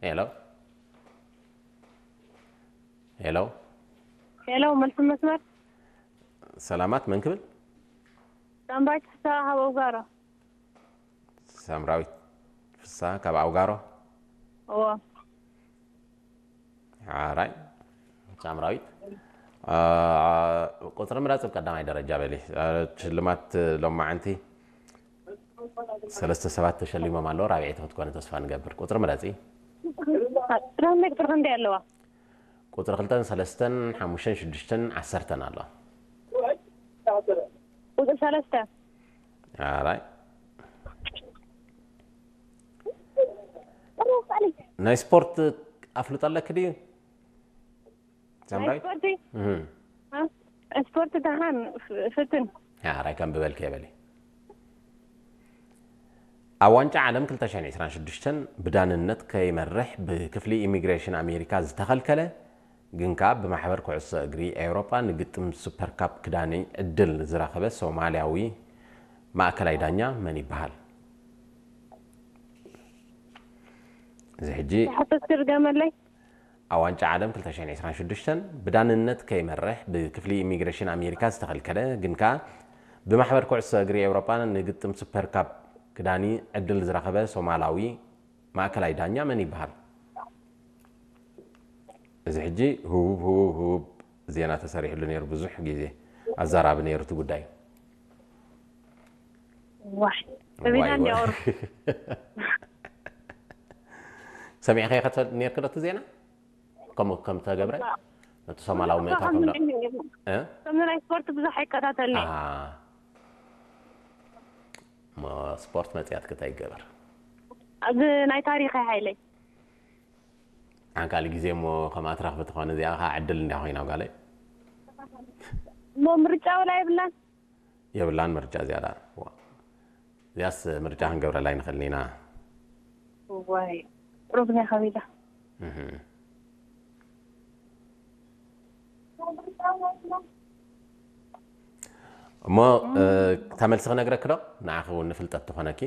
ሄሎ፣ ሄሎ። ሄሎ፣ መልሲ መስመር። ሰላማት፣ መን ክብል? ሳምራዊት ፍስሃ ካብ ኣውጋሮ። ሳምራዊት ፍስሃ ካብ ኣውጋሮ። እዎ። ሓራይ ሳምራዊት፣ ቁፅሪ ምረፂ ብቀዳማይ ደረጃ በሊ። ሽልማት ሎማዓንቲ ሰለስተ ሰባት ተሸሊሞም ኣለዉ። ራብዐይቲ ክትኮነ ተስፋ ንገብር። ቁፅሪ ምረፂ። ትራንስሌት ቁጥሪ ክንደይ ኣለዋ? ቁፅሪ ክልተን ሰለስተን ሓሙሽተን ሽዱሽተን ዓሰርተን ኣሎ። ቁፅሪ ሰለስተ። ኣራይ ናይ ስፖርት ኣፍልጦ ኣለክ ድዩ? ሳምራዊት? ስፖርቲ እህ። ስፖርቲ ደሓን ፍትን። ኣራይ ከም ብበልክ የበሊ። ኣብ ዋንጫ ዓለም ክልተ ሽሕን ዕስራን ሽዱሽተን ብዳንነት ከይመርሕ ብክፍሊ ኢሚግሬሽን ኣሜሪካ ዝተኸልከለ ግን ከኣ ብማሕበር ኩዕሶ እግሪ ኤውሮጳ ንግጥም ሱፐር ካፕ ክዳኒ ዕድል ዝረኸበ ሶማልያዊ ማእከላይ ዳኛ መን ይበሃል? እዚ ሕጂ ሕቶ ትርገመለይ። ኣብ ዋንጫ ዓለም ክልተ ሽሕን ዕስራን ሽዱሽተን ብዳንነት ከይመርሕ ብክፍሊ ኢሚግሬሽን ኣሜሪካ ዝተኸልከለ ግን ከኣ ብማሕበር ኩዕሶ እግሪ ኤውሮጳ ንግጥም ሱፐር ካፕ ክዳኒ ዕድል ዝረኸበ ሶማላዊ ማእከላይ ዳኛ መን ይበሃል? እዚ ሕጂ ህቡብ ህቡብ ህቡብ ዜና ተሰሪሕሉ ነይሩ፣ ብዙሕ ግዜ ኣዛራቢ ነይሩ እቲ ጉዳይ። ዋይ ሰቢና ዋይ፣ እንዲያወሩ ዋይ። ሰሚዕካዮ ከ ትፈልጥ ነይርክ ዶ እቲ ዜና? ከምኡ ከም ተገብረ ነቲ ሶማላዊ ምእታው ከም ዶ- እ? ከምዚ ናይ ስፖርት ብዙሕ ኣይከታተልኒ። ኣሃ። እሞ ስፖርት መፅያት ክታይ ይገበር። ኣብዚ ናይ ታሪኸ ሓይለይ ሓንካሊ ግዜ እሞ ከምኣ ትረኽቢ ትኾነ እዚኣ ከዓ ዕድል እንዲያ ኮይና ጓለይ። እሞ ምርጫ ወላ የብላን። የብላን ምርጫ እዚኣ ደኣ። ዋ። እዚኣስ ምርጫ ክንገብረላ ኣይንኽእልን ኢና። ዋይ ሩብኛ ከቢዳ። እህ። እሞ እ፣ እታ መልሲ ክነግረኪ ዶ? ንዓኺ እውን ንፍልጠት ትኾነኪ።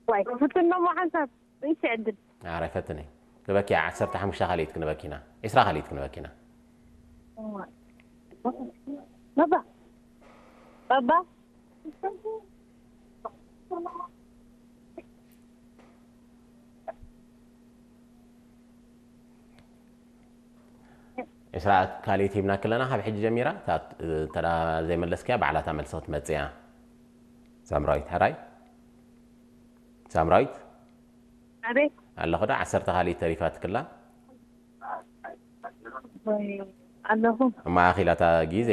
ዋይ ክፍትን ሞ ሓንሳብ ንእሽተይ ዕድል። ኣረ ፈትኒ። ክበኪ ዓሰርተ ሓሙሽተ ካልኢት ክንበኪና። ዕስራ ካልኢት ክንበኪና። ባባ ባባ ዕስራ ካልኢት ሂብናኪ ኣለና ካብ ሕጂ ጀሚራ። እታ፣ እንተ ደኣ ዘይመለስክያ ባዕላ እታ መልሲ ክትመጽእ እያ። ሳምራዊት፣ ሕራይ? ሳምራዊት? ኣቤት ኣለኹ ዶ? ዓሰርተ ካልኢት ተሪፋትክላ። ወይ ኣለኹ። እማ ኣኺላ እታ ግዜ፣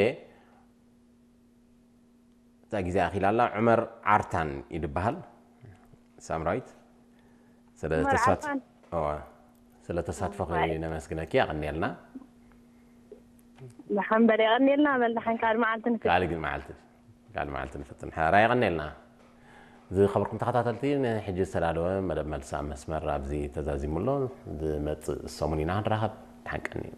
እታ ግዜ ኣኺላ ኣላ። ዑመር ዓርታን እዩ ዝበሃል። ሳምራዊት፣ ስለ ዑመር ተሳት-፣ ዓርታን። እዋ፣ ስለ ተሳትፎኺ ነመስግነኪ፣ የቐንየልና። ደሓን በል፣ የቐንየልና በል፣ ደሓን ካልእ መዓልቲ ንፍትን። ካልእ ግን መዓልቲ፣ ካልእ መዓልቲ ንፍትን። ሕራይ፣ የቐንየልና። ዝኸበርኩም ተኸታተልቲ፣ ንሕጂ ዝተዳለወ መደብ መልሲ ኣብ መስመር ኣብዚ ተዛዚሙ ኣሎ። ዝመጽእ ሰሙን ኢና ክንራኸብ። ደሓን ቀንዩ።